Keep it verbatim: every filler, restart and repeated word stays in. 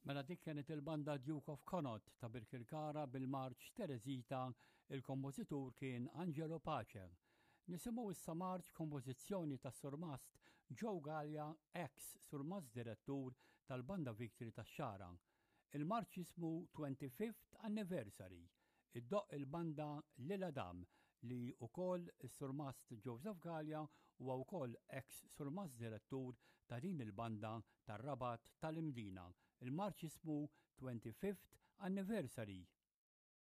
Mela dik kienet il-banda Duke of Connaught ta' Birkirkara bil-marċ Teresita, il-kompożitur kien Angelo Pace. Nisimgħu issa marċ kompożizzjoni ta' Surmast Joe Gallia, ex Surmast Direttur tal-Banda Victory tax-Xagħra. Il-marċ jismu twenty-fifth Anniversary. Iddoqq il-banda Lila Dam li wkoll is-Surmast Joseph Gallia huwa wkoll ex Surmast Direttur ta' din il-banda tar-Rabat tal-Imdina. Il-marċ jismu twenty-fifth Anniversary.